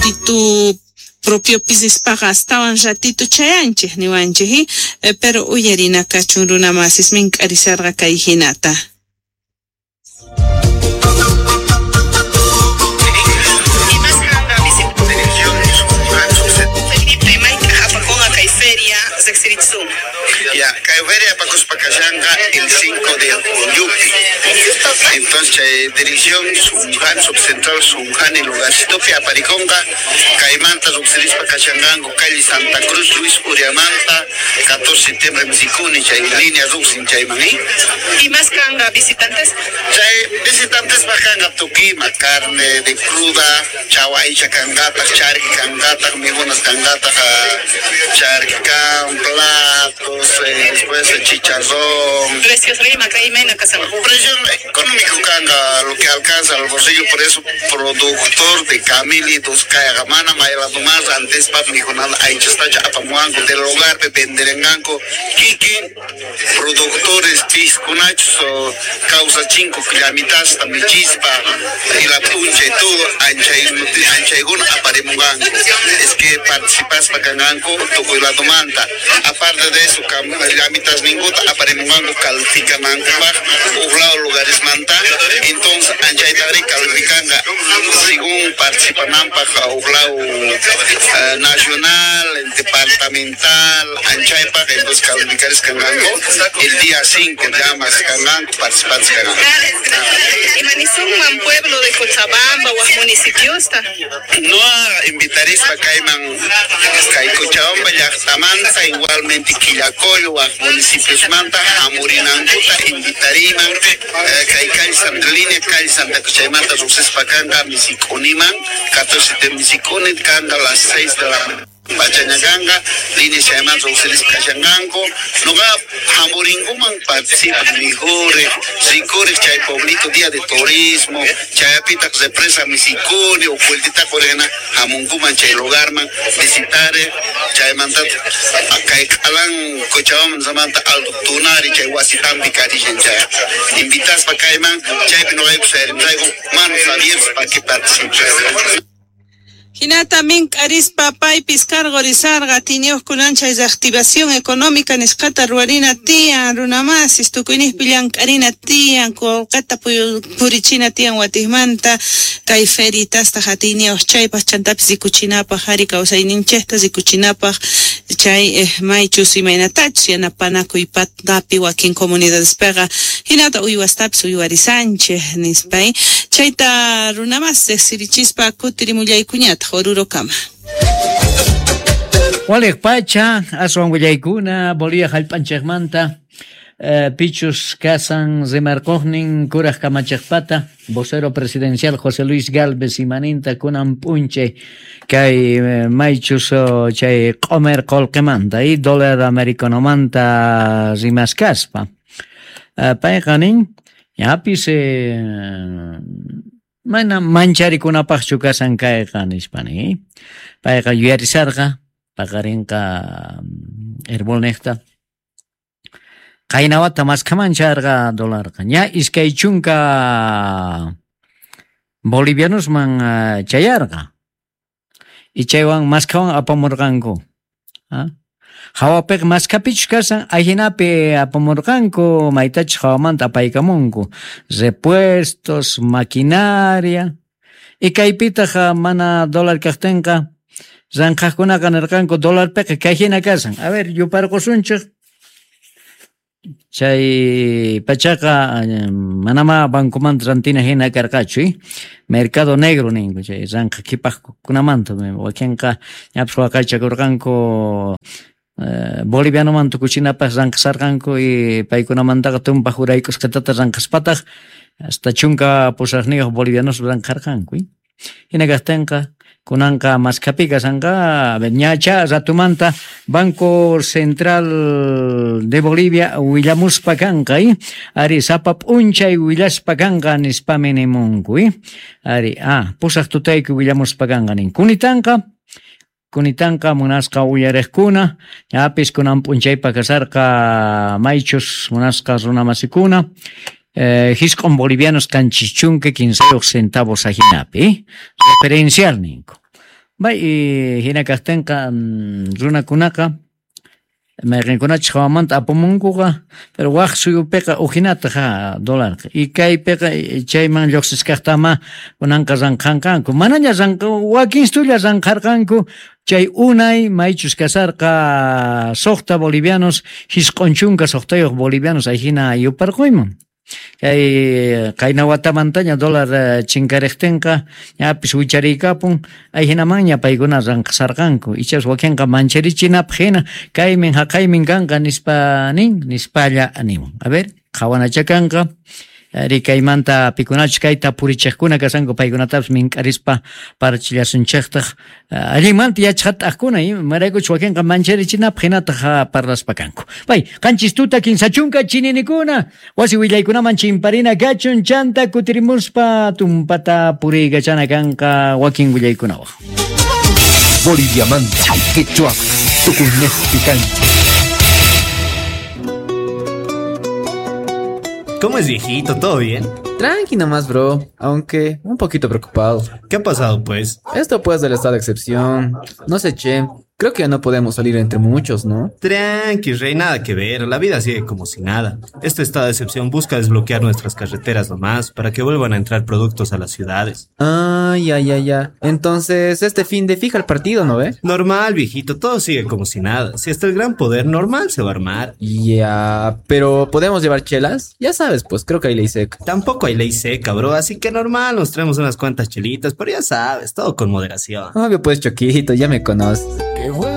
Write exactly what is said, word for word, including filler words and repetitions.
autitu propio pisispaqa astawan ratito chayanchej niwanchej, eh, pero uyarina kachun runa masis mink'arisarqa kay hinata. Ya, kay feria apakuspa kashanqa el cinco de julio. Entonces, chay dirección Sunjan, subcentral Sunjan y lugarcitopi apariconqa, kaymanta ruqsirispa kashanqanku calle Santa Cruz, Luis Uriamanta, catorce de septiembre Misikuni, chay línea ruqsin chayman, ¿eh? ¿Y más kanqa visitantes? Chay visitantes kanqa tukima, carne de cruda, chawaycha kanqataq, charqui kanqataq, mijunas kanqataq, charqui kan, platos, eh, después el chicharrón. Precios rima, kaymena kasanqa. Precio económico kanqa, lo que alcanza al bolsillo, por eso productor de camelitos, kayagamana, maylatumar, antes pap mijonal, aychastacha, apamuanco, del hogar, pependerenganco, kiki, productores, piscunachos, causa cinco, kilamitas, tamichispa, y la puncha y todo, anchayguna, aparemuganco. Es que participas pa kanganco, toco y la tomanta. Aparte de eso, lamitas ninguta, aparemuganco, calificananco, ujlao lugares manta, entonces anchaytari calificanga, según participanampa, ujlao eh, nacional, departamental, anchaypa, entonces calificares kanganco, el día cinco llamas kanganco, participantes kanganco. Y Manizunman, pueblo de Cochabamba, o municipios. No invitarispa kayman kay Cochabamba llaqtamanta, igualmente Quillacollo, municipios manta, Amurinanguta, invitariman, kay calle Santa Línea, calle Santa Cruz, chaymanta ruqsispa kanqa Misikuniman, catorce de Misikuni, kanqa a las seis de la mañana. Pachañacanga, línea chaymanta ruqsirispa kashanqanku, noqa hamurinkuman participa mijure, rikuriq chay pueblito día de turismo, chayapitaq represa Misikuni, o vueltita corena, hamunkuman chay lugarman, visitare, chaymanta kay q'alan Cochabamba samanta Alto Tunari, chay wasitampi karishan chay. Invitaspa kayman, chaypi noqayku sayrinrayku, manos abiertas para que participen. Hinata mink'arispa paypis cargorizarqa tiniyuqkunan chay reactivación económica nisqata ruwarina tiyan, runamasis tukuyniqpi llank'arina tiyan, qullqita purichina tiyan watiqmanta, kay feritasta hatiniyuq chaypaq chantapis rikuchinapaq, ari kawsayninchikta rikuchinapaq, chay eh, maychus imaynatachus yanapanakuy patapi wakin comunidadespiqa hinata uywastapis uywarisanchik nispay, chayta runamas riqsirichispa kutirimullaykuñataq Orurokama. Waliq pacha, aswan willaykuna, Bolivia hallp'anchikmanta, eh, pichus kasan rimarquqnin kuraq kamachiqpata, vocero presidencial José Luis Gálvez imaninta kunan p'unchay kay eh, maychus oh, chay q'umer qullqimanta y dólar americanomanta rimaskaspa. Eh, payqa nin, ñapis eh, mana mancharikunapaqchu kasan kayqa nispa nin. Payqa yuyarisarqa, paqarinqa herbolniqta. Qaynawata maskhaman charqa dólarqa. Ña iskay chunka bolivianosman chayarqa. Y chaywan maskhawan apamurqanku. ¿Ah? Hawapiqa maskhapichus kasan, ajinapi apamurqanku, maytachus hawamanta apaykamunku. Repuestos, maquinaria. Y kaypitaq mana dólar kaqtinqa, ranqhaqkunaqa nirqanku dólarpiqa kayhina kasan. A ver, yuparqusunchik. Chay pachaqa manama bancomanta rantina hina karqachu, eh? Mercado negro ninku chay ranqa qhipaqkunamanta wakinqa ñapis waqaychakurqanku eh, bolivianomanta tukuchinapaq ranqasarqanku y paykunamantaqa tumpaq uraykusqatata ranqaspataq hasta chunka pusaqniyuq bolivianos ranqarqanku, eh? Hina kaqtinqa kunanqa maskhapi kasanqa ñacha ratumanta Banco Central de Bolivia willamuspa kanqa, eh? Ari sapa p'unchay willaspa kanqa nispami nimunku, eh? Ari ah pusaq tutayku willamuspa kanqa nin. Kunitanqa kunitanqa munasqa uyariqkuna ñapis kunan p'unchaypa kasarqa maychus munasqa runamasikuna eh, hisq'un bolivianos qanchis chunka kinsayuq centavos ajinapi, eh? Referencial ninku. Bay hina kaqtinqa runakunaqa mayqinkunachus hawamanta apamunkuqa, pero waq suyupiqa ujinataq dólarqa. Y kaypiqa chayman lluqsiskaqtama kunanqa ranqanqanku. Manaña ranqa wakinstulla ranqarqanku chay unay maychus kasarqa suqta bolivianos, hisq'un chunka suqtayuq bolivianos ayhina yuparquyman. Kay qayna watamantaña dólar chinkariqtinqa ñapis wicharikapun ayhinamanña paykuna ranqasarqanku ichas wakinqa mancharichinapaq hina kaymin haqaymin kanqa nispa nin nispalla animun. A ver, qhawanacha kanqa rikaymanta pikunachus kayta purichiqkuna kasanku paykunatapis mink'arispa parachillasunchiqtaq allinmanta yachaqat'aqkuna imaraykuchus wakinqa mancharichinapaq hinataq parlaspa kanku. Pay qanchis tuta kinsa chunka chininikuna wasi willaykunaman chimparina kachun chanta kutirimuspa tumpata puriykachana kanqa wakin willaykunawan. Boliviamanta quechua tukuynejpi kanchik. ¿Cómo es, viejito? ¿Todo bien? Tranqui nomás, bro, aunque un poquito preocupado. ¿Qué ha pasado, pues? Esto pues del estado de excepción. No sé, che, creo que ya no podemos salir entre muchos, ¿no? Tranqui, rey, nada que ver. La vida sigue como si nada. Este estado de excepción busca desbloquear nuestras carreteras nomás para que vuelvan a entrar productos a las ciudades. Ah, ya, ya, ya. Entonces, este fin de fija el partido, ¿no ve? Normal, viejito, todo sigue como si nada. Si está el gran poder, normal se va a armar. Ya, pero ¿podemos llevar chelas? Ya sabes, pues, creo que hay ley seca. Tampoco hay ley seca, bro, así que normal, nos traemos unas cuantas chelitas, pero ya sabes, todo con moderación. Obvio, pues, Choquito, ya me conoces. Qué bueno.